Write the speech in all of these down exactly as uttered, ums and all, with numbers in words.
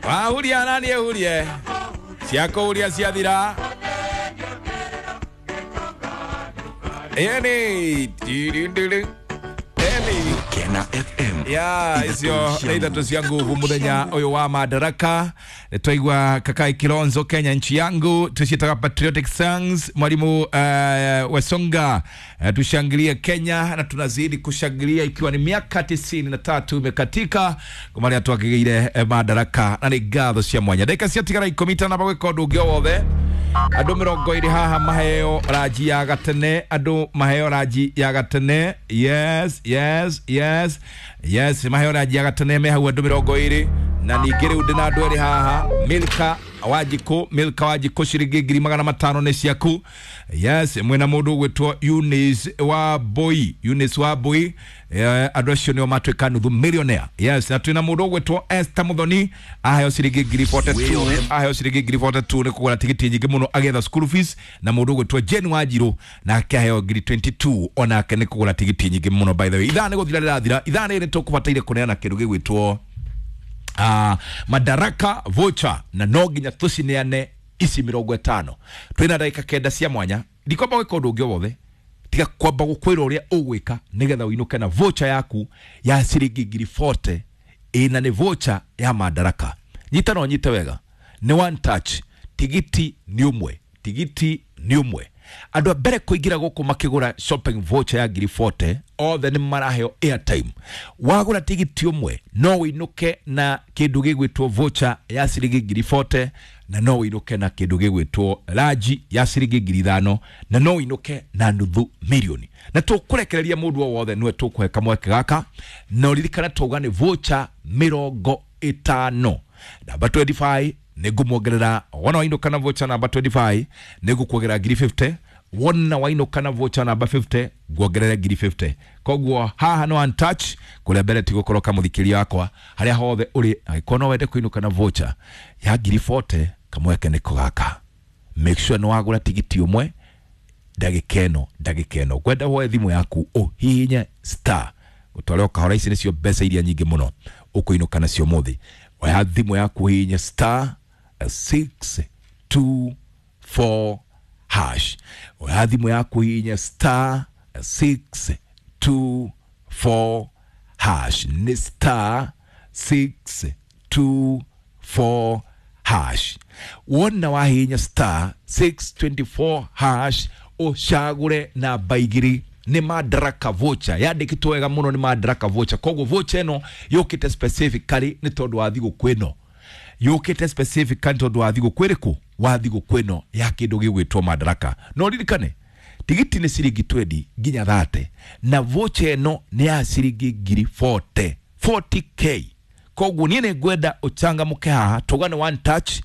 Wahuria nani ehurie ciakũhuria ciathira. Ĩni ĩni Kena F M. Ya icio nĩ ithatũ cia nguvu muthenya ũyũ wa Madaraka. Nĩtwaigua Kakai Kilonzo Kenya nchi yangu, tuciĩtaga patriotic songs. Mwalimu uh, Wesonga, uh, tushangilie Kenya na tunazidi kushangilia ikiwa ni miaka tisini na tatu imekatika kumaria twakĩgĩire eh, Madaraka, na nĩ ngatho cia mwanya. Ndagĩka ciatigara ikũmi itanamba gwĩka ũndũ ũngĩ o wothe. Andũ mĩrongo ĩrĩ haha maheo ranji ya gatene, andũ maheo ranji ya gatene. Yes, yes, yes, yes, maheo ranji ya gatene me hau andũ mĩrongo ĩrĩ. Na ningĩ rĩu ndĩna andũ erĩ haha, Milka Wanjikũ, Milka Wanjikũ ciringi ngiri magana matano nĩ ciaku. Yes, mwĩna mũndũ ũgwĩtwo Eunice wa Boy, Eunice wa Boy. Eh, andũ acio nĩo matuĩka nuthu millionaire. Yes, na twĩna mũndũ ũgwĩtwo Esther Muthoni, aheo ciringi ngiri forty-two, aheo ciringi ngiri forty-two nĩ kũgũra tigiti nyingĩ mũno agĩetha school fees. Na mũndũ ũgwĩtwo Jane Wanjirũ nake aheo ngiri twenty-two onake nĩ kũgũra tigiti nyingĩ mũno. By the way, ithaa nĩ gũthira rĩrathira, ithaa rĩrĩ tũkũbataire kũneana kĩndũ gĩgwĩtwo Uh, Madaraka voucher, na no nginya tũcineane ici mĩrongo ĩtano. Twĩna ndagĩka kenda cia mwanya, ndikwamba gwĩka ũndũ ũngĩ o wothe tiga kwamba gũkwĩra ũrĩa ũgwĩka nĩgetha ũinũke na voucher yaku ya ciringi ngiri forty, ĩna nĩ voucher ya Madaraka. Nyita na ũnyite wega, nĩ one touch, tigiti nĩ ũmwe, tigiti nĩ ũmwe. Andũ a mbere kũingĩra gũkũ makĩgũra shopping voucher ya ngiri forty othe nĩ maraheo airtime. Wagũra tigiti ũmwe no ũinũke na kĩndũ gĩgwĩtwo voucher ya ciringi ngiri forty, na no ũinũke na kĩndũ gĩgwĩtwo ranji ya ciringi ngiri ithano, na no ũinũke na nuthu milioni. Na tũkũrekereria mũndũ o wothe nĩwe tũkũhe kamweke gaka, na ũririkane twauga nĩ voucher mĩrongo ĩtano. Namba twenty-five nĩngũmuongerera, wona wainũka na voucher namba twenty-five nĩngũkuongerera ngiri fifty, wona wainũka na voucher namba fifty nguongerere ngiri fifty. Koguo haha no one touch, kũrĩa mbere ti gũkorwo kamũthikĩria wakwa harĩa hothe ũrĩ, angĩkorwo no wende kũinũka na voucher ya ngiri forty kamweke nĩko gaka. Make sure nĩ wagũra tigiti ũmwe ndagĩka ĩno, ndagĩka ĩno ngwenda woe thimũ yaku ũhihinye star ũtware ũkahora. Ici nĩcio mbeca iria nyingĩ mũno ũkũinũka nacio ũmũthĩ. Oya thimũ yaku ũhihinye star six two four hash. Oya thimũ yaku ũhihinye star six two four hash. Nĩ star six two four hash. Wona wahihinya star six twenty-four hash ũcagũre namba igĩrĩ nĩ Madaraka voucher. Yandĩkĩtwo wega mũno nĩ Madaraka voucher. Koguo voucher ĩno yũkĩte specifically nĩ tondũ wa thigũkũ ĩno, yũkĩte specifically tondũ wa thigũkũ ĩrĩkũ? Wa thigũkũ ĩno ya kĩndũ gĩgwĩtwo Madaraka. No ririkane tigiti nĩ ciringi twenty nginya thirty, na voucher ĩno nĩ ya ciringi ngiri forty, forty K. Koguo niĩ nĩ ngwenda ũcangamũke haha, tũgane one touch,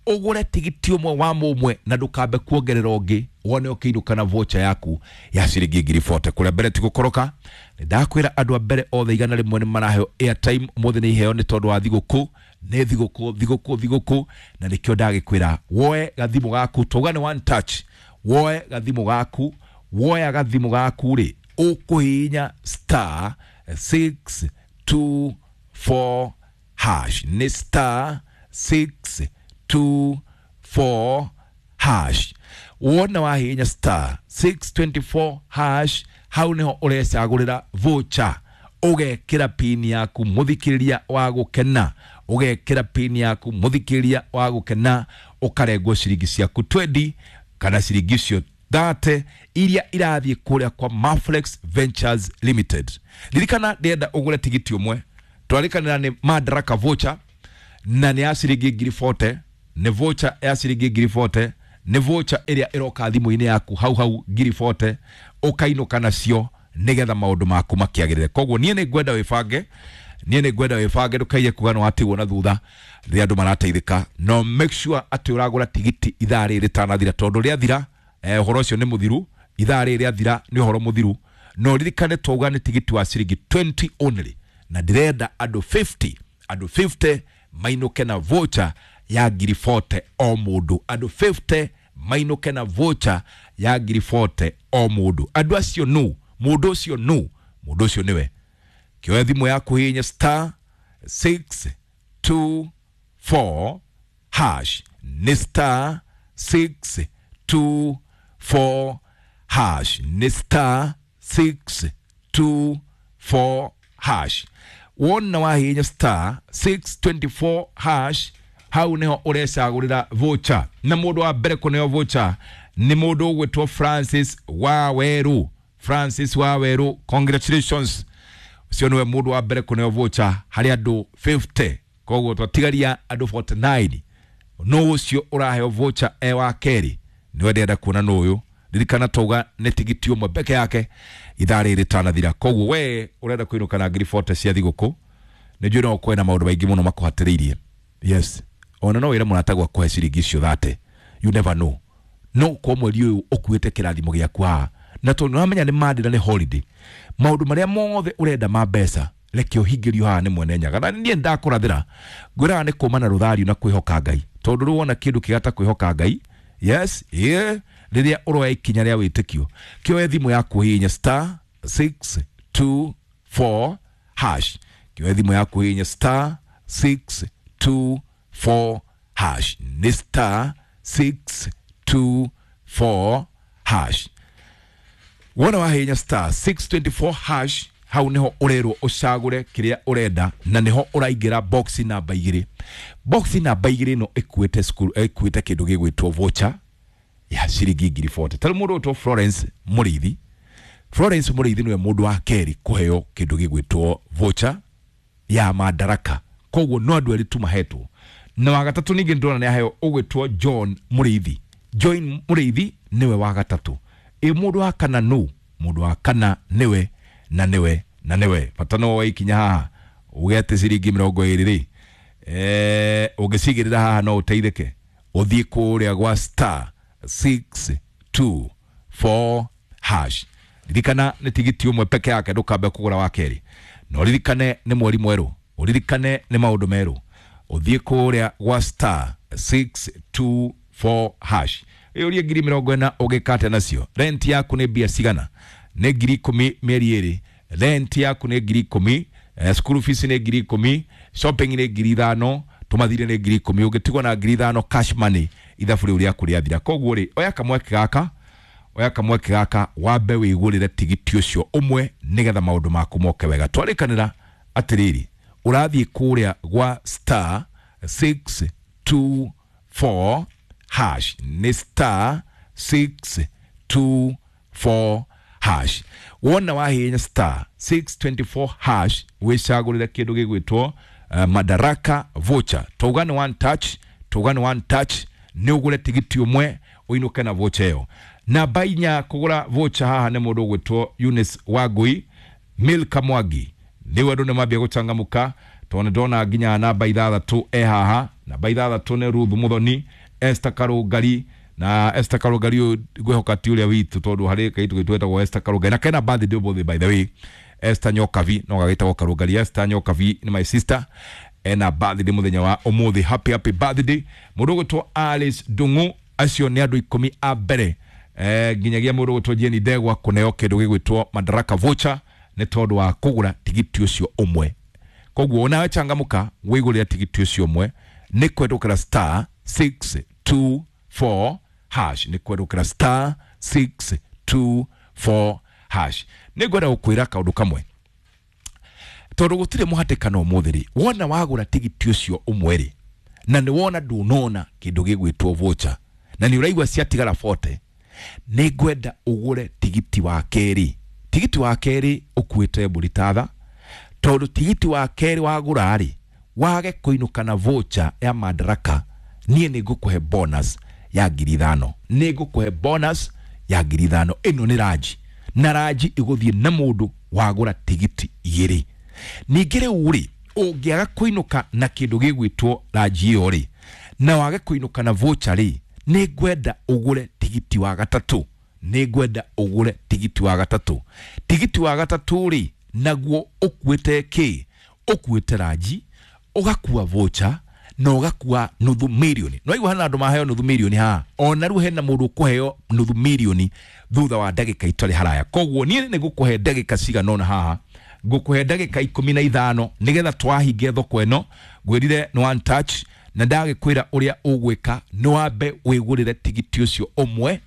ũgũre tigiti ũmwe wa mũmwe na ndũkambe kuongerera ũngĩ, wone ũkĩinũka na voucher yaku ya ciringi ngiri forty. Kũrĩa mbere ti gũkoroka, nĩ ndakwĩra andũ a mbere othe igana rĩmwe nĩ maraheo airtime ũmũthĩ, nĩ iheo nĩ tondũ wa thigũkũ, nĩ thigũkũ, thigũkũ, thigũkũ, na nĩkĩo ndagĩkwĩra woe gathimũ gaku, tũgane one touch, woe gathimũ gaku, woya gathimũ gaku rĩ, ũkũhihinya star six two four hash. Nĩ star six two four hash. Wona wahihinya star six twenty-four hash, hau nĩho ũrecagũrĩra voucher, ũgekĩra pin yaku mũthikĩrĩria wa gũkena, ũgekĩra pin yaku mũthikĩrĩria wa gũkena, ũkarengwo ciringi ciaku twenty kana ciringi icio thirty iria irathiĩ kũrĩa kwa Maflex Ventures Limited. Ririkana ndĩrenda ũgũre tigiti ũmwe, twarĩkanĩra nĩ Madaraka voucher na nĩ ya ciringi ngiri forty, nĩ voucher ya ciringi ngiri forty, nĩ voucher ĩrĩa ĩroka thimũ-inĩ yaku hau hau ngiri forty, ũkainũka nacio nĩgetha maũndũ maku makĩagĩrĩre. Koguo niĩ nĩ ngwenda wĩbange, niĩ nĩ ngwenda wĩbange, ndũkaiye kuga nĩ watigwo na thutha rĩrĩa andũ marateithĩka. No make sure atĩ ũragũra tigiti ithaa rĩrĩ rĩtanathira, tondũ rĩathira eh, ũhoro ũcio nĩ mũthiru. Ithaa rĩrĩ rĩathira nĩ ũhoro mũthiru. No ririkane twauga nĩ tigiti wa ciringi twenty only, na ndĩrenda andũ fifty, andũ fifty mainũke na voucher ya ngiri forty o mũndũ, andũ fifty mainũke na voucher ya ngiri forty o mũndũ. Andũ acio nũ? Mũndũ ũcio nũ? Mũndũ ũcio nĩwe. Kĩoya thimũ yaku hihinya star six two four hash, nĩ star six two four hash, nĩ star six two four hash. Wona wahihinya star six twenty four hash, hau niho urecagurira voucher. Na mundu wa mbere kuneo voucher ni mundu ugwitwo Francis Waweru. Francis Waweru, congratulations, ucio niwe mundu wa mbere kuneo voucher hari andu fifty. Koguo twatigaria andu forty nine. No ucio uraheo voucher e wa keri niwe ndĩrenda kuona nũ ũyũ. Ririkana tauga nĩ tigiti ũmwe peke yake ithaa rĩrĩ rĩtanathira. Koguo we ũrenda kũinũka na ngiri forty cia thigũkũ, nĩ njũĩ no ũkorwo na maũndũ maingĩ mũno makũhatĩrĩirie. Yes, ona no wĩre mũrata gwaku ciringi icio thate, you never know. No kwa mweri ũyũ ũkuĩte kĩrathimo gĩaku haha, na tondũ nĩwamenya nĩ Monday na nĩ holiday, maũndũ marĩa mothe ũrenda ma mbeca reke ũhingĩrio haha nĩ Mwene Nyaga. Na niĩ ndakũrathĩra ngwĩraga nĩ kũma na rũthario na kwĩhoka Ngai, tondũ rĩu wona kĩndũ kĩgata kwĩhoka Ngai. Yes, yeah, rĩrĩa ũroya ikinya rĩa wĩtĩkio, kĩoe thimũ yaku hihinya star six two four hash, kĩoe thimũ yaku hihinya star six two four hash, nĩ star six two four hash. Wona wahihinya star six twenty four hash, hau niho urerwo ucagure kiria urenda, na niho uraingira box namba igiri. Box namba igiri no ikuite school, ikuite kindu gigwitwo voucher ya ciringi ngiri forty. Tari mundu witwo Florence Muriithi. Florence Muriithi niwe mundu wa keri kuheo kindu gigwitwo voucher ya Madaraka. Koguo no andu eri tu mahetwo. Na wa gatatu ningi ndona ni aheo ugwitwo John Muriithi. John Muriithi niwe wa gatatu. E mundu wa kana nu, mundu wa kana niwe na niwe na niwe. Bata no waikinya haha ugete ciringi mirongo iri ri, eh ungicigirira haha no uteithike uthie kuria gwa star six two four hash. Ririkana nĩ tigiti ũmwe peke yake, ndũkambe kũgũra wa kerĩ. Na ũririkane nĩ mweri mwerũ, ũririkane nĩ maũndũ merũ. Ũthiĩ kũrĩa gwa star six two four hash, ĩũrie ngiri mĩrongo ĩna ũgĩkate nacio. Rent yaku nĩ mbia cigana? Nĩ ngiri ikũmi mĩeri ĩrĩ. Rent yaku nĩ ngiri ikũmi, school fees nĩ ngiri ikũmi, shopping nĩ ngiri ithano, tũmathire nĩ ngiri ikũmi. Ũngĩtigwo na ngiri ithano cash money, ithabu rĩu rĩaku rĩathira. Koguo rĩ, oya kamweke gaka, oya kamweke gaka wambe wĩgũrĩre tigiti ũcio ũmwe nĩgetha maũndũ maku moke wega. Twarĩkanĩra atĩrĩrĩ, ũrathiĩ kũrĩa gwa star six two four hash, nĩ star six two four hash. Wona wahihinya star six twenty four hash, wĩcagũrĩre kĩndũ gĩgwĩtwo uh, Madaraka voucher. Tauga nĩ one touch, tauga nĩ one touch, nĩ ũgũre tigiti ũmwe ũinũke na voucher ĩyo. Namba inya kũgũra voucher haha nĩ mũndũ ũgwĩtwo Eunice Wangui, Milka Mwangi. Rĩu andũ nĩmambia gũcangamũka tondũ nĩndona nginya namba ithathatũ e haha. Namba ithathatũ nĩ Ruth Muthoni, Esther Karũngari. Na Esther Karũngari ũyũ ngwĩhoka ti ũrĩa witũ, tondũ harĩ kaitũ gaitũ getagwo Esther Karũngari, na kena birthday ũmũthĩ by the way. Esther Nyokavi no gagĩtagwo Karũngari. Esther Nyokavi nĩ my sister, ena birthday mũthenya wa ũmũthĩ. Happy happy birthday. Mũndũ ũgwĩtwo Alice Ndung'u, acio nĩ andũ ikũmi a mbere eh nginyagia mũndũ ũgwĩtwo Jane Ndegwa kũneo kĩndũ gĩgwĩtwo Madaraka voucher nĩ tondũ wa kũgũra tigiti ũcio ũmwe. Koguo onawe changamũka wĩgũrĩre tigiti ũcio ũmwe nĩ kwendũkĩra star six two four hash, nĩ kwendũkĩra star six two four hash. Nĩ ngwenda gũkwĩra kaũndũ kamwe, tondũ gũtirĩ mũhatĩkano ũmũthĩ rĩ, wona wagũra tigiti ũcio ũmwe rĩ, na nĩ wona ndũnona kĩndũ gĩgwĩtwo voucher, na nĩ ũraigua ciatigara forty, nĩ ngwenda ũgũre tigiti wa kerĩ. Tigiti wa kerĩ ũkuĩte mbũri tatha, tondũ tigiti wa kerĩ wagũra rĩ, wage kũinũka na voucher ya Madaraka, niĩ nĩ ngũkũhe bonus ya ngiri ithano. Nĩ ngũkũhe bonus ya ngiri ithano. Ĩno nĩ ranji, na ranji ĩgũthiĩ na mũndũ wagũra tigiti igĩrĩ. Ningĩ rĩu rĩ, ũngĩaga kũinũka na kĩndũ gĩgwĩtwo ranji ĩyo rĩ, na wage kũinũka na voucher rĩ, nĩ ngwenda ũgũre tigiti wa gatatũ. Nĩ ngwenda ũgũre tigiti wa gatatũ. Tigiti wa gatatũ rĩ, naguo ũkuĩte kĩ? Ũkuĩte ranji, ũgakua voucher, na ũgakua nuthu mirioni. No igua hena andũ maheo nuthu mirioni haha. Ona rĩu hena mũndũ ũkũheo nuthu mirioni thutha wa ndagĩka itarĩ haraya. Koguo niĩ nĩ ngũkũhe ndagĩka cigana ũna haha Ngũkũhe ndagĩka ikũmi na ithano nĩgetha twahinge thoko ĩno. Ngwĩrire nĩ one touch na ndagĩkwĩra ũrĩa ũgwĩka nĩ wambe wĩgũrĩre tigiti ũcio ũmwe,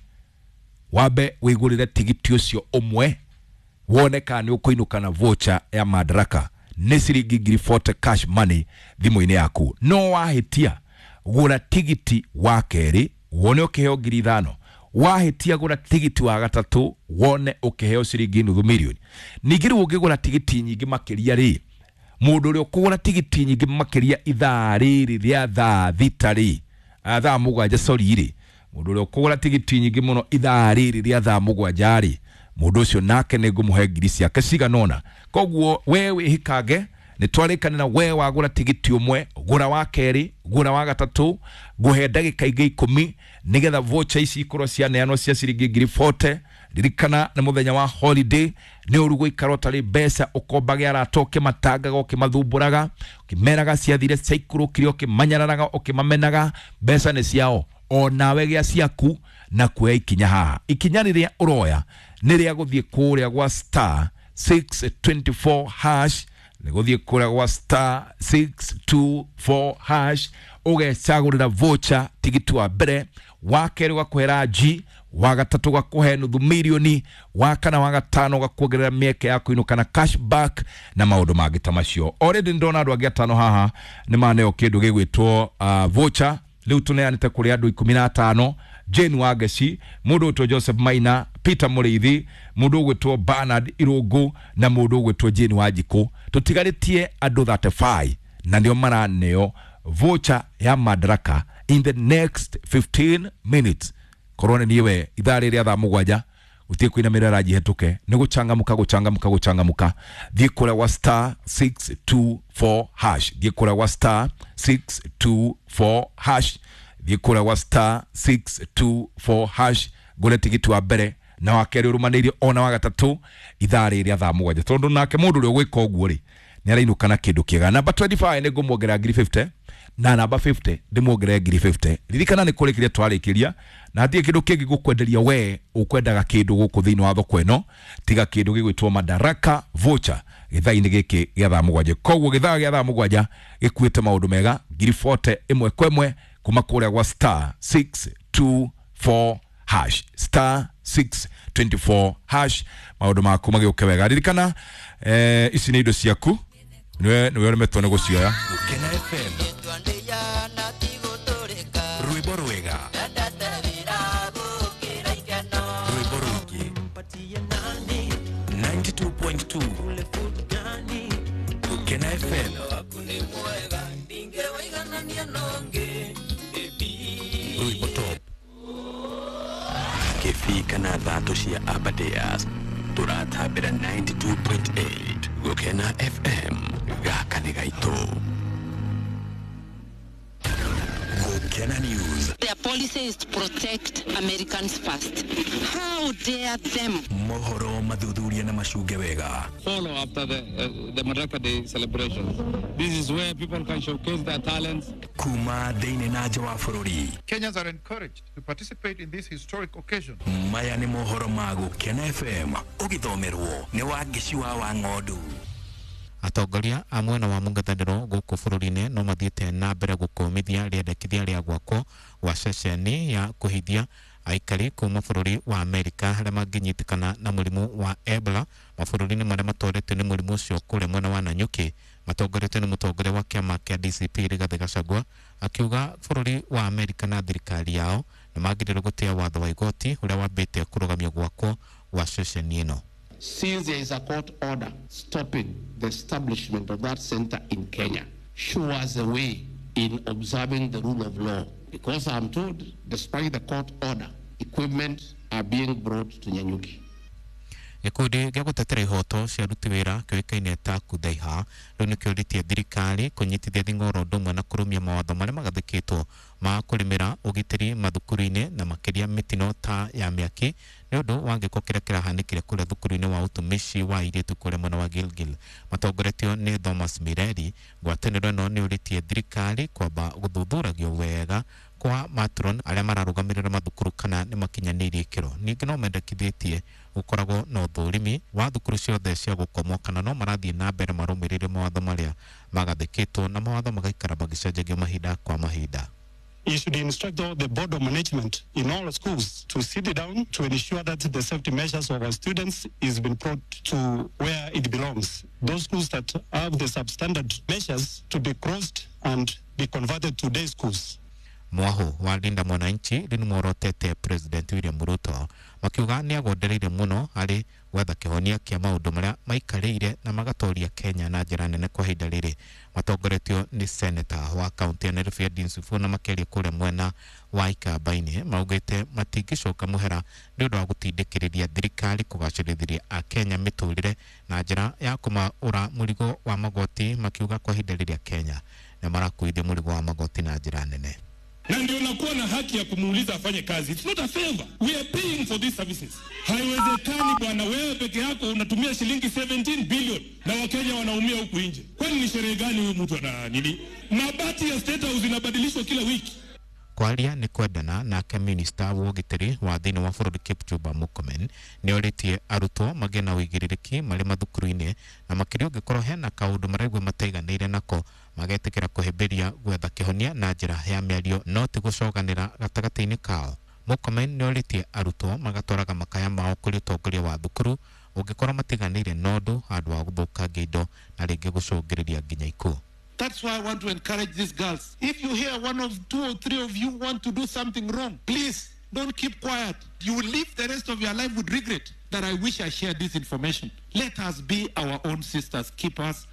wambe wĩgũrĩre tigiti ũcio ũmwe wone kana nĩ ũkũinũka na voucher ya Madaraka nĩ ciringi ngiri forty cash money thimũ-inĩ yaku. No wahĩtia gũra tigiti wa kerĩ wone ũkĩheo ngiri ithano, wahĩtia gũra tigiti wa gatatũ wone ũkĩheo ciringi nuthu milioni. Ningĩ rĩu ũngĩgũra tigiti nyingĩ makĩria rĩ, mũndũ ũrĩa ũkũgũra tigiti nyingĩ makĩria ithaa rĩrĩ rĩa thaa thita rĩ, thaa mũgwanja sorry rĩ, mũndũ ũrĩa ũkũgũra tigiti nyingĩ mũno ithaa rĩrĩ rĩa thaa mũgwanja rĩ, mũndũ ũcio nake nĩ ngũmũhe ngiri ciake cigana ũna. Koguo we wĩhikange, nĩ twarĩkanĩra we wagũra tigiti ũmwe, gũra wa kerĩ, gũra wa gatatũ, ngũhe ndagĩka ingĩ ikũmi nĩgetha voucher ici ikorwo cianeanwo cia ciringi ngiri forty. Ririkana nĩ mũthenya wa holiday, nĩ ũru gũikara ũtarĩ mbeca, ũkombage arata ũkĩmatangaga, ũkĩmathumbũraga, ũkĩmeraga ciathire ciaikũrũkire, ũkĩmanyararaga, ũkĩmamenaga. Mbeca nĩ ciao, onawe gĩa ciaku na kuoya ikinya haha. Ikinya rĩrĩa ũroya nĩ rĩa gũthiĩ kũrĩa gwa star six twenty four hash, nĩ gũthiĩ kũrĩa gwa star six two four hash ũgecagũrĩra voucher tigiti wa mbere, wa kerĩ ũgakũhe G, wa gatatũ ũgakũhe nuthu milioni, wa kana wa gatano ũgakuongerera mĩeke ya kũinũka na cashback na maũndũ mangĩ ta macio. Already ndona andũ angĩ atano haha nĩ maneo kĩndũ gĩgwĩtwo uh, voucher. Rĩu tũneanĩte kũrĩ andũ ikũmi na atano: Jane Wangeci, mũndũ ũgwĩtwo Joseph Maina, Peter Mũrĩithi, mũndũ ũgwĩtwo Bernard Irũngũ na mũndũ ũgwĩtwo Jane Wanjikũ. Tũtigarĩtie andũ thirty five na nĩo maraneo voucher ya Madaraka in the next fifteen minutes. Korwo nĩ niĩ we ithaa rĩrĩa thaa mũgwanja gũtirĩ kũinamĩrĩra ranji hetũke, nĩ gũcangamũka gũcangamũka gũcangamũka. Thiĩ kũrĩa gwa star six two four hash, thiĩ kũrĩa gwa star six two four hash, thiĩ kũrĩa gwa star six two four hash ngũre tigiti wa mbere na wa kerĩ ũrũmanĩirie ona wa gatatũ ithaa rĩrĩa thaa mũgwanja, tondũ nake mũndũ ũrĩa ũgwĩka ũguo rĩ nĩ arainũka na kĩndũ kĩega. Namba twenty five nĩ ngũmuongerera ngiri fifty na namba fifty ndĩmuongerere ngiri fifty. Ririkana nĩ kũrĩkĩria twarĩkĩria na hatirĩ kĩndũ kĩngĩ gũkwenderia we ũkwendaga kĩndũ gũkũ thĩinĩ wa thoko ĩno tiga kĩndũ gĩgwĩtwo Madaraka voucher gĩthaa-inĩ gĩkĩ gĩa thaa mũgwanja. Koguo gĩthaa gĩa thaa mũgwanja gĩkuĩte maũndũ mega, ngiri forty ĩmwe kwa ĩmwe kuma kũrĩa gwa star six two four hash, star six twenty four hash. Maũndũ maku magĩũke wega. Ririkana eh, ici nĩ indo ciaku, niwe niwe ũremetwo nĩ gũcioya. Gũkena F M, rwĩmbo rwega, rwĩmbo rũingĩ, ninety two point two Gũkena F M. Rwĩmbo top. Kĩbii kana thatũ cia Aberdares tũratambĩra ninety two point eight Gũkena F M. Gaka nĩ gaitũ. Gũkena News. Their policy is to protect Americans first. How dare them? Mohoro mathuthuria na macunge wega. Follow after the, uh, the Madaraka Day celebrations. This is where people can showcase their talents. Kuma thĩinĩ na nja wa bũrũri. Kenyans are encouraged to participate in this historic occasion. Maya nĩ mohoro ma Gũkena F M ũgĩthomerwo nĩ Wangeci wa Wang'ondu. Atongoria a mwena wa mũng'ethanĩro gũkũ bũrũri-inĩ no mathiĩte na mbere gũkũmithia rĩendekithia rĩa gwakwo gwa ceceni ya kũhithia aikari kuma bũrũri wa Amerika arĩa mangĩnyitĩkana na mũrimũ wa Ebola mabũrũri-inĩ marĩa matoretio nĩ mũrimũ ũcio kũrĩa mwena wa Nanyuki, matongoretio nĩ mũtongoria wa kĩama kĩa D C P Rigathĩ Gachagua akiuga bũrũri wa Amerika na thirikari yao nĩ magĩrĩirwo gũtĩa watho wa igoti ũrĩa wambĩte kũrũgamio gwakwo gwa ceceni ĩno. Since there is a court order stopping the establishment of that center in Kenya, show us the way in observing the rule of law. Because I'm told, despite the court order, equipment are being brought to Nanyuki. Gĩkundi gĩa gũtetera ihoto cia aruti wĩra kĩũĩkaine ta Kuthaiha rĩu nĩkĩũrĩtie thirikari kũnyitithia thing'oro ũndũ ũmwe na kũrũmia mawatho marĩa magathĩkĩtwo ma kũrĩmĩra ũgitĩri mathukuru-inĩ na makĩria mĩtino ta ya mĩaki nĩ ũndũ wa gĩko kĩrĩa kĩrahanĩkire kũrĩa thukuru-inĩ wa ũtumishi wa airĩtu kũrĩa mwena wa Gilgil. Matongoretio nĩ Thomas Mireri, ngwatanĩro ĩno nĩ ũrĩtie thirikari kwamba gũthuthuragio wega kwa matron arĩa mararũgamĩrĩra mathukuru kana nĩ makinyanĩirie ikĩro. Ningĩ no mendekithĩtie gũkoragwo na ũthũrimi wa thukuru ciothe cia gũkomwo kana no marathiĩ na mbere marũmĩrĩire mawatho marĩa magathĩkĩtwo na mawatho magaikara magĩcenjagio mahinda kwa mahinda. You should instruct all the board of management in all schools to sit down to ensure that the safety measures of our students is been brought to where it belongs. Those schools that have the substandard measures to be closed and be converted to day schools. Mwahu wa Linda Mwananchi rĩ nĩmworotete President William Ruto makiuga nĩ agondereire mũno harĩ gwetha kĩhonia kĩa maũndũ marĩa maikarĩire na magatoria Kenya na njĩra nene kwa ihinda rĩrĩ. Matongoretio nĩ seneta wa kaunti ya Nairobi Edwin Sifuna makĩaria kũrĩa mwena wa Ikamba-inĩ maugĩte matingĩcoka mũhera nĩ ũndũ wa gũtindĩkĩrĩria thirikari kũgacĩrithĩria Akenya mĩtũrĩre na njĩra ya kũmaũra mũrigo wa magoti, makiuga kwa ihinda rĩrĩa Kenya nĩ marakuithia mũrigo wa magoti na njĩra nene. Na ndio nakuwa na haki ya kumuuliza afanye kazi. It's not a favor. We are paying for these services. Haiwezekani bwana, wewe peke yako unatumia shilingi seventeen billion na Wakenya wanaumia huku nje. Kwani ni sherehe gani huyu mtu ana nini? Mabati ya State House inabadilishwa kila wiki. Kwaria nĩ kwendana nake minista wa ũgitĩri wa thĩinĩ wa bũrũri Kipchumba Murkomen nĩ orĩtie arutwo magĩe na ũigĩrĩrĩki marĩ mathukuru-inĩ na makĩria ũngĩkorwo hena kaũndũ maraigua mataiganĩire nako magetĩkĩra kũhĩmbĩria gwetha kĩhonia na njĩra ya mĩario no ti gũcoganĩra gatagatĩ-inĩ kao. Murkomen nĩ orĩtie arutwo magatwaraga makaya mao kũrĩ ũtongoria wa thukuru ũngĩkorwo matiganĩire na ũndũ handũ wa gũthũkangia indo na rĩngĩ gũcũngĩrĩria nginya ikuũ. That's why I want to encourage these girls. If you hear one of two or three of you want to do something wrong, please don't keep quiet. You will live the rest of your life with regret that I wish I shared this information. Let us be our own sisters keepers.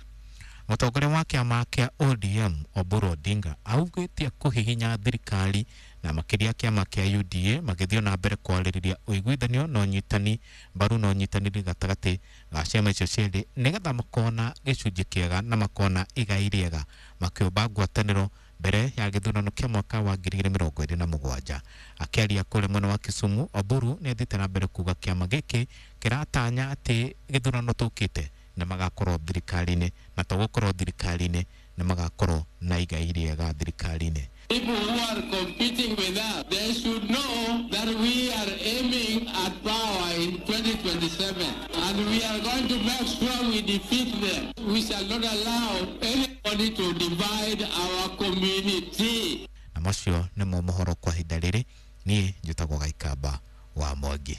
Mũtongoria wa kĩama kĩa O D M Oburu Odinga augĩte kũhihinya thirikari na makĩria kĩama kĩa U D A magĩthiĩ na mbere kwarĩrĩria ũiguithanio na ũnyitani mbaru na ũnyitanĩri gatagatĩ ga ciama icio cierĩ nĩgetha makona gĩcunjĩ kĩega na makona igai rĩega makĩũmba ngwatanĩro mbere ya gĩthurano kĩa mwaka wa ngiri igĩrĩ mĩrongo ĩrĩ na mũgwanja. Akĩaria kũrĩa mwena wa Kisumu, Oburu nĩ athiĩte na mbere kuga kĩama gĩkĩ kĩratanya atĩ gĩthurano tũkĩte na magakorwo thirikari-inĩ na to gũkorwo thirikari-inĩ na magakorwo na igai rĩega thirikari-inĩ. People who are competing with us, they should know that we are aiming at power in twenty twenty-seven and we are going to make sure we defeat them. We shall not allow anybody to divide our community. Na macio nĩmo mohoro kwa ihinda rĩrĩ. Niĩ njĩtagwo Gaikamba wa Mwangi.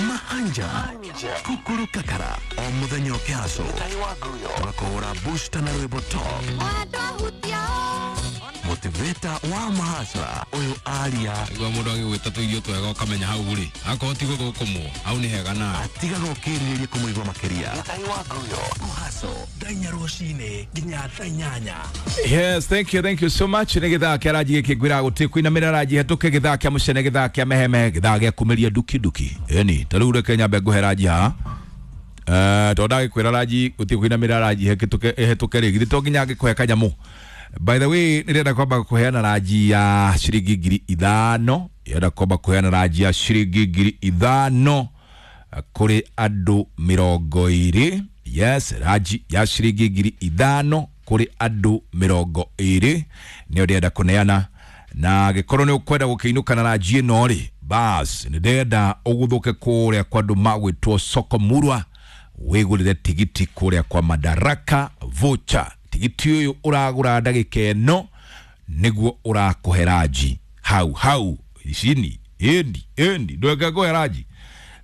Mahanja kukuru kakara o muthenya ũkĩhaco tũgakũhũra booster na rwĩmbo top motivator wa mahacra ũyũ aria nĩguo mũndũ agĩgwĩta tũirio twega ũkamenya hau rĩ akorwo ti gũthũkũmwo hau nĩ hega nawe atigaga ũkĩrirĩria kũmũigua makĩria kũhaco thaa inya rũcinĩ nginya thaa inyanya. Yes, thank you, thank you so much. Nĩ gĩthaa kĩa ranji gĩkĩ ngwĩra gũtirĩ kũinamĩrĩra ranji hetũke gĩthaa kĩa mũcene gĩthaa kĩa mehemehe gĩthaa gĩa kumĩria nduki nduki. Ĩni ta rĩu reke nyambe ngũhe ranji haha. Eh, tondũ ndagĩkwĩra ranji gũtirĩ kũinamĩrĩra ranji hetũke hetũke rĩ githĩ to nginya ngĩkũhe kanyamũ. By the way, nĩndĩrenda kwamba kũheana ranji ya ciringi ngiri ithano. Ndĩrenda kwamba kũheana ranji ya ciringi ngiri ithano kũrĩ andũ mĩrongo ĩrĩ. Yes, ranji ya ciringi ngiri ithano kũrĩ andũ mĩrongo ĩrĩ nĩyo ndĩrenda kũneana, na gĩkorwo nĩ ũkwenda gũkĩinũka na ranji ĩno rĩ, bas nĩ ndĩrenda ũgũthũke kũrĩa kwa andũ magwĩtwo Soko Murwa wĩgũrĩre tigiti kũrĩa kwa Madaraka voucher. Tigiti ũyũ ũragũra ndagĩka ĩno nĩguo ũrakũhe ranji hau hau icini ĩndi ĩndi ndweke ngũhe ranji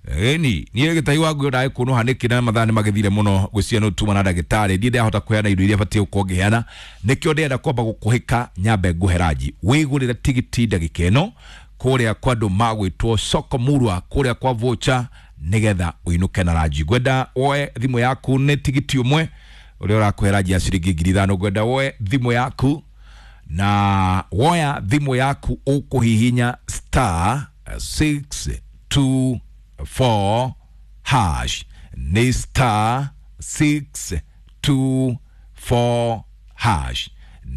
ĩni niĩ gĩtai wa nguo ndagĩkũnũha nĩkĩ na mathaa nĩ magĩthire mũno gwĩciria nĩ tuma na ndagĩtarĩ ndiĩ ndahota kũheana indo iria batiĩ gũkorwo ngĩheana nĩkĩo ndĩrenda kwamba gũkũhĩka nyambe ngũhe ranji wĩgũrĩre tigiti ndagĩka ĩno kũrĩa kwa andũ magwĩtwo Soko Murwa kũrĩa kwa voucher nĩgetha ũinũke na ranji. Ngwenda woe thimũ yaku nĩ tigiti ũmwe ũrĩa ũrakũhe ranji ya ciringi ngiri ithano. Ngwenda woe thimũ yaku na woya thimũ yaku ũkũhihinya star six two four hash nĩ star six two four hash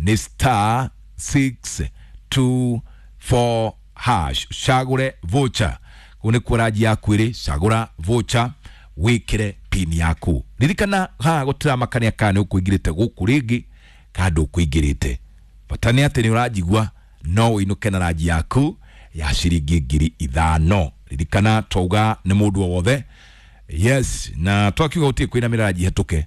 nĩ star six two four hash, cagũre voucher. Kũu nĩkuo ranji yaku ĩrĩ, cagũra voucher wĩkĩre pin yaku. Ririkana haha gũtiramakania kana nĩ ũkũingĩrĩte gũkũ rĩngĩ kana ndũkũingĩrĩte, bata nĩ atĩ nĩ ũranjigua no ũinũke na ranji yaku ya ciringi ngiri ithano. Ririkana twauga nĩ mũndũ o wothe, yes, na twakiuga gũtirĩ kwĩna mĩranji hetũke.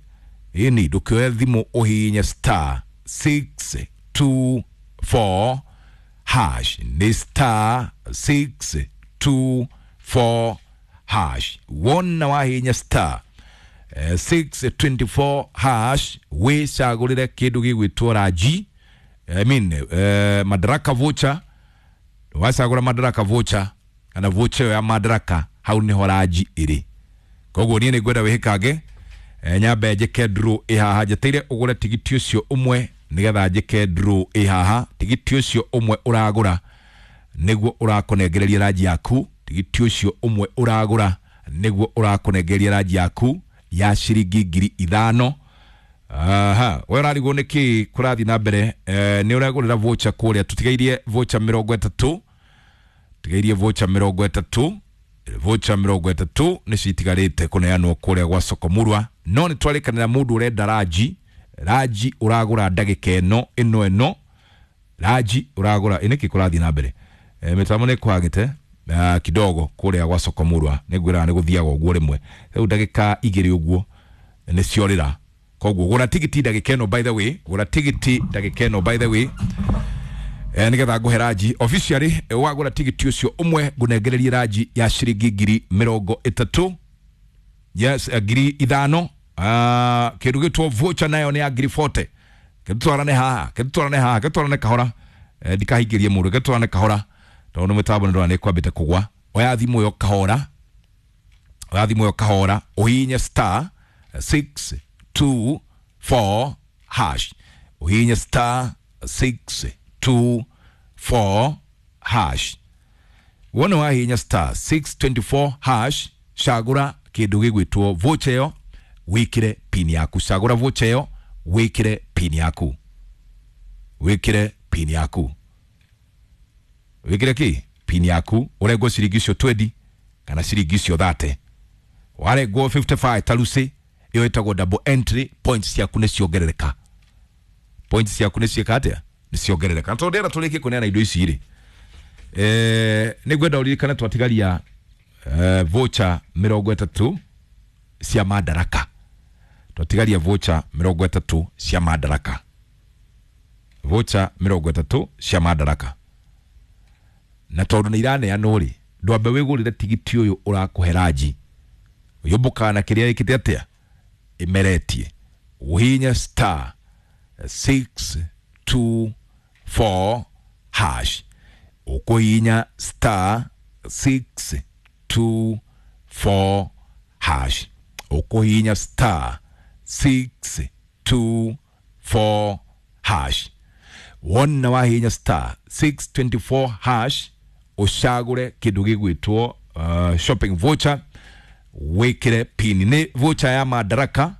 Ĩni ndũkĩoe thimũ ũhihinye star six two four hash, nĩ star six two four hash. Wona wahihinya star eh, six twenty four hash, wĩcagũrĩre kĩndũ gĩgwĩtwo ranji, I mean, eh, Madaraka voucher. Wacagũra Madaraka voucher kana voucher ya Madaraka, hau nĩho ranji ĩrĩ. Koguo niĩ nĩngwenda wĩhĩkange, eh, nyambe njĩke draw ĩ haha, njeteire ũgũre tigiti ũcio ũmwe nĩgetha njĩke draw ĩ haha. Tigiti ũcio ũmwe ũragũra nĩguo ũrakũnengereria ranji yaku, tigiti ũcio ũmwe ũragũra nĩguo ũrakũnengereria ranji yaku ya ciringi ngiri ithano. Aha, we ũrarigwo nĩkĩ kũrathiĩ na mbere, eh, nĩ ũragũrĩra voucher kũrĩa, tũtigairie voucher mĩrongo ĩtatũ, tigairie voucher mĩrongo ĩtatũ, voucher mĩrongo ĩtatũ nĩcio itigarĩte kũneanwo kũrĩa gwa Sokomurwa. No nĩ twarĩkanĩra mũndũ ũrenda ranji, ranji ũragũra ndagĩka ĩno ĩno ĩno, ranji ũragũra ĩ nĩkĩ kũrathiĩ na mbere, e, mĩtambo nĩ ĩkwagĩte uh, kidogo kũrĩa gwa Sokomurwa, nĩ ngwĩraga nĩ gũthiaga ũguo rĩmwe, rĩu ndagĩka igĩrĩ ũguo nĩ ciorĩra. Koguo gũra tigiti ndagĩka ĩno, by the way, gũra tigiti ndagĩka ĩno, by the way, eh, nĩgetha ngũhe ranji officially. eh, wagũra tigiti ũcio ũmwe ngũnengererie ranji ya ciringi ngiri mĩrongo ĩtatũ, yes, eh, ngiri ithano. uh, kĩndũ gĩtwo voucher nayo nĩ ya ngiri forty. Kĩtwarane haha, kĩtwarane haha, kĩtwarane kahora, eh, ndikahingĩrie mũndũ, kĩtwarane kahora tondũ nĩ mĩtambo nĩ ndĩrona nĩ kwambĩte kũgwa. Oya thimũ ĩyo kahora, oya thimũ ĩyo kahora, ũhihinye star six two four hash, ũhihinye star six two four hash. Wona wahihinya star six twenty four hash, cagũra kĩndũ gĩgwĩtwo voucher ĩyo, wĩkĩre pin yaku. Cagũra voucher ĩyo, wĩkĩre pin yaku, wĩkĩre pin yaku, wĩkĩre kĩ pin yaku, ũrengwo ciringi icio twenty kana ciringi icio thirty. Warengwo fifty five taruci, ĩyo ĩtagwo double entry, points ciaku nĩ ciongerereka, points ciaku nĩ ciĩka atĩa, nĩ ciongerereka. Na tondũ ndĩrenda tũrĩkie kũneana indo ici rĩ, eh, nĩ ngwenda ũririkane twatigaria eh, voucher mĩrongo ĩtatũ cia Madaraka, twatigaria voucher mĩrongo ĩtatũ cia Madaraka, voucher mĩrongo ĩtatũ cia Madaraka. Na tondũ nĩ iraneanwo rĩ, ndwambe wĩgũrĩre tigiti ũyũ ũrakũhe ranji, ũyũmbũkaga na kĩrĩa ĩkĩte atĩa, ĩmeretie. Ũhihinye star six two four hash, ũkũhihinya star six two four hash, ũkũhihinya star six two four hash. Wona wahihinya star six twenty four hash, ũcagũre kĩndũ gĩgwĩtwo uh, shopping voucher, wĩkĩre pin. Nĩ voucher ya Madaraka.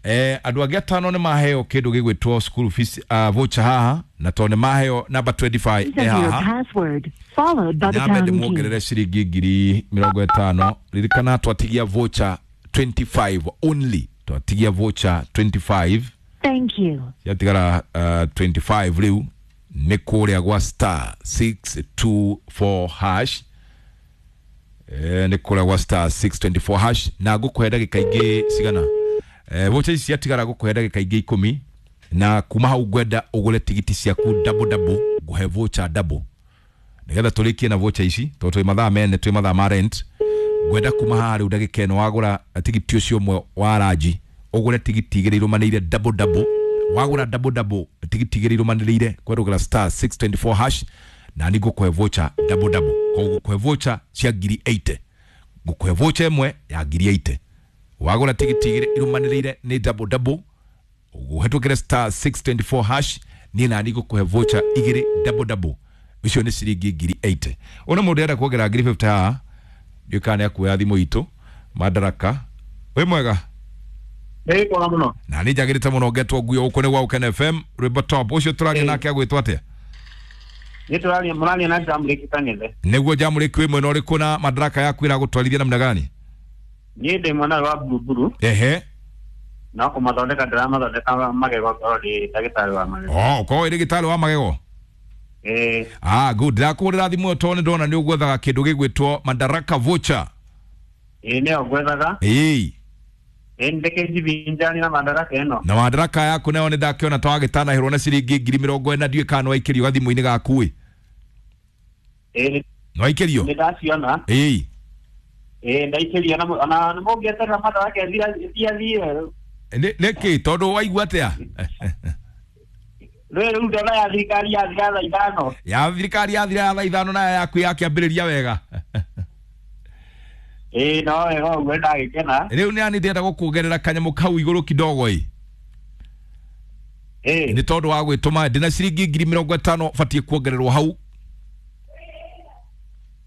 Eh, andũ angĩ atano nĩ maheo kĩndũ gĩgwĩtwo school fees uh, voucher haha, na tondũ nĩ maheo number twenty five Please ĩ enter your haha, password, followed by the nyambe pound key. ndĩmuongerere ciringi ngiri mĩrongo ĩtano. Ririkana twatigia voucher twenty five only, twatigia voucher twenty five, Thank you. ciatigara uh, twenty five rĩu nĩ kũrĩa gwa star six two four hash, eh, nĩ kũrĩa gwa star six twenty four hash, na ngũkũhe ndagĩka ingĩ cigana, eh, voucher ici ciatigara ngũkũhe ndagĩka ingĩ ikũmi, na kuma hau ngwenda ũgũre tigiti ciaku double double, ngũhe voucher double nĩgetha tũrĩkie na voucher ici tondũ twĩ mathaa mene, twĩ mathaa ma rent. Ngwenda kuma haha rĩu ndagĩka ĩno wagũra tigiti ũcio ũmwe wa ranji, ũgũre tigiti igĩrĩ irũmanĩrĩire double double. Wagũra double double tigiti igĩrĩ irũmanĩrĩire kwerũgĩra star six twenty four hash, na nĩ ngũkũhe voucher double double. Koguo ngũkũhe voucher cia ngiri eighty, ngũkũhe voucher ĩmwe ya ngiri eighty. Wagũra tigiti igĩrĩ irũmanĩrĩire nĩ double double, ũhetũkĩre star six twenty four hash, niĩ nani ngũkũhe voucher igĩrĩ double double, icio nĩ ciringi ngiri eighty. Ona mũndũ arenda kuongerera ngiri fifty haha, ndiũĩ kana nĩ akuoya thimũ itũ Madaraka. Wĩ mwega? Nĩ mwega mũno. Na nĩ njagĩrĩte mũno ngetwo nguo gũkũ nĩ gwa Ũkena F M rwĩmbo top. Ũcio tũraria nake agwĩtwo atĩa? Nĩ tũraria mũraria na Jamũrĩki Kang'ethe. Nĩguo Jamũrĩki, wĩ mwena ũrĩkũ na madaraka yaku ĩragũtwarithia namna gani? Niĩ ndĩ mwena wa Buruburu. Ehe. No kũmathondeka ndĩramathondeka magego, ngorwo ndĩ ndagĩtarĩ wa magego. Oh, ũkorwo wĩ ndagĩtarĩ wa magego. Ĩĩ. Ah, good. Ndakũhũrĩra thimũ ĩyo tondũ nĩ ndona nĩ ũgwethaga kĩndũ gĩgwĩtwo Madaraka voucher. Ĩĩ, nĩyo ngwethaga. Ĩĩ. Ĩĩ, ndĩkĩnjivinjani na madaraka ĩno. Na madaraka yaku nayo nĩ ndakĩona ta wagĩtanahĩrwo na ciringi ngiri mĩrongo ĩna, ndiũĩ kana nĩwaikĩrio gathimũ-inĩ gaku ĩ. Ĩĩ. Nĩwaikĩrio? Nĩ ndaciona. Ĩĩ. Ĩĩ, ndaikĩrio na ona mũngĩeterera madaraka ĩthiathiĩ. Nĩkĩ? Tondũ waigua atĩa? Rĩu rĩu ndona ya thirikari yathira thaa ithano. Ya thirikari yathira thaa ithano nayo yaku yakĩambĩrĩria wega. Ĩĩ, no wega ũguo, ndagĩkena. Rĩu nĩ ani ndĩrenda gũkuongerera kanyamũ kau igũrũ kidogo ĩ. Ĩĩ. Nĩ tondũ wa gwĩtũma ndĩna ciringi ngiri mĩrongo ĩtano batiĩ kuongererwo hau.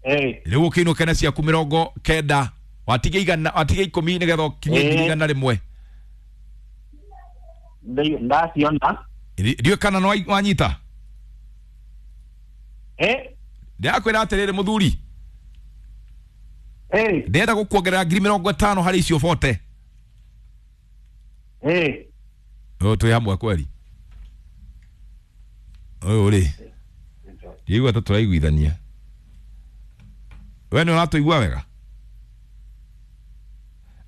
Ĩĩ. Rĩu ũkĩinũke na ciaku mĩrongo kenda, watige igana, watige ikũmi nĩgetha ũkinyie ngiri igana rĩmwe. Ndaciona. Ndiũĩ kana nĩ wanyita. Ĩĩ. Ndĩrakwĩra atĩrĩrĩ mũthuri. Ĩĩ. Ndĩrenda gũkuongerera ngiri mĩrongo ĩtano harĩ icio bote. Ĩĩ. Ũyũ twĩ hamwe kweri? Ũyũ rĩ, ndiaigua ta tũraiguithania. We nĩ ũratũigua wega?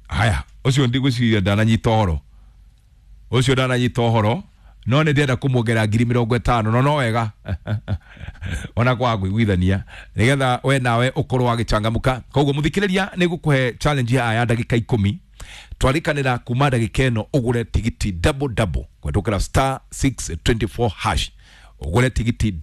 Haya, ũcio ndigwĩciria ndananyita ũhoro. Ũcio ndananyita ũhoro, no nĩ ndĩrenda kũmuongerera ngiri mĩrongo ĩtano, no no wega ona kwaga kũiguithania nĩgetha we nawe ũkorwo wagĩcangamũka. Koguo mũthikĩrĩria, nĩ gũkũhe challenge ya ya ndagĩka ikũmi, twarikanĩra kuma ndagĩka ĩno ũgũre tigiti double double kũhetũkĩra star six twenty four hash, ũgũre tigiti double.